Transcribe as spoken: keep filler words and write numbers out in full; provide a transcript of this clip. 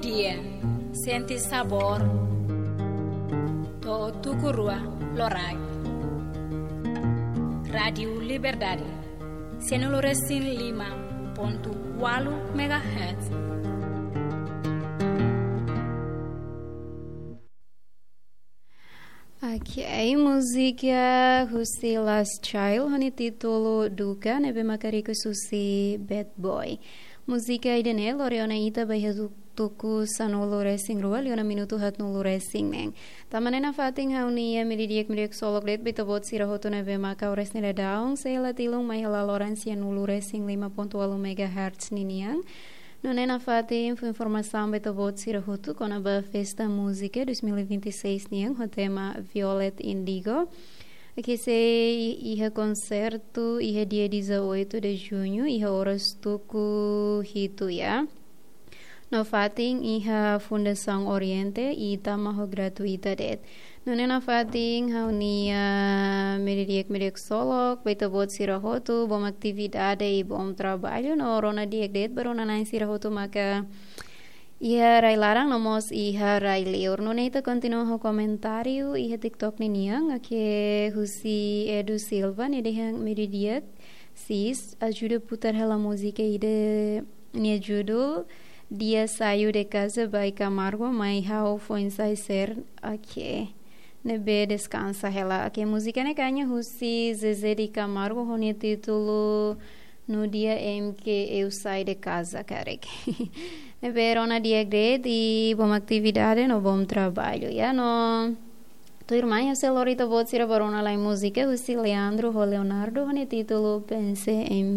Dia, sente sabór. To'o tuku rua loraik. Rádiu Liberdade, sianulu resin lima pontu ualu megahertz. Ok, múzika husi Last Child ho nia títulu Duka, ne'ebé maka request husi Bad Boy. Múzika ida-ne'e lori ona ita ba iha tu-, tuku sanulu resin rua, liu ona minutu haatnulu resin neen. Tanba ne'e nafatin ha'u-nia media di'ak, media di'ak ksolok de'it ba ita-boot sira hotu ne'ebé maka oras ne'e daudaun sei hela tilun mai hela loron sianulu resin lima pontu ualu megahertz ninian. Nune'e nafatin fó informasaun ba ita-boot sira hotu kona-ba Festa Múzika dois mil e vinte e seis nian ho tema Violet Indigo. Ke sei iha konsertu iha dia dezoito de junho, iha oras tuku hitu, ya. No fatin iha Fundasaun Oriente i tama ho gratuita de'it. Nune'e nafatin ha'u-nia media di'ak, media di'ak ksolok ba ita-boot sira hotu, bom atividade i bom traballu, no rona di'ak de'it ba rona-na'in sira hotu maka iha rai laran no mós iha rai liur. Nune'e ita kontinua ho komentáriu iha TikTok ninian, ke husi Edu Silva, nia dehan media di'ak, sis, ajuda putar hela múzika ida nia judul Dia Saiu de Casa by Camargo, mai ha'u foin sai sira, ok. Ne'ebé deskansa hela. Ok, múzika ne'e kaña husi Zezé de Camargo ho nia títulu No Dia em que Eu Saí de Casa, karik. Ne'ebé rona di'ak de'it i bom atividade no bom traballu, ya no. Tuirmai ha'u sei lori ita-boot sira ba rona lai múzika husi Leandro ho Leonardo ho nia títulu Pensei em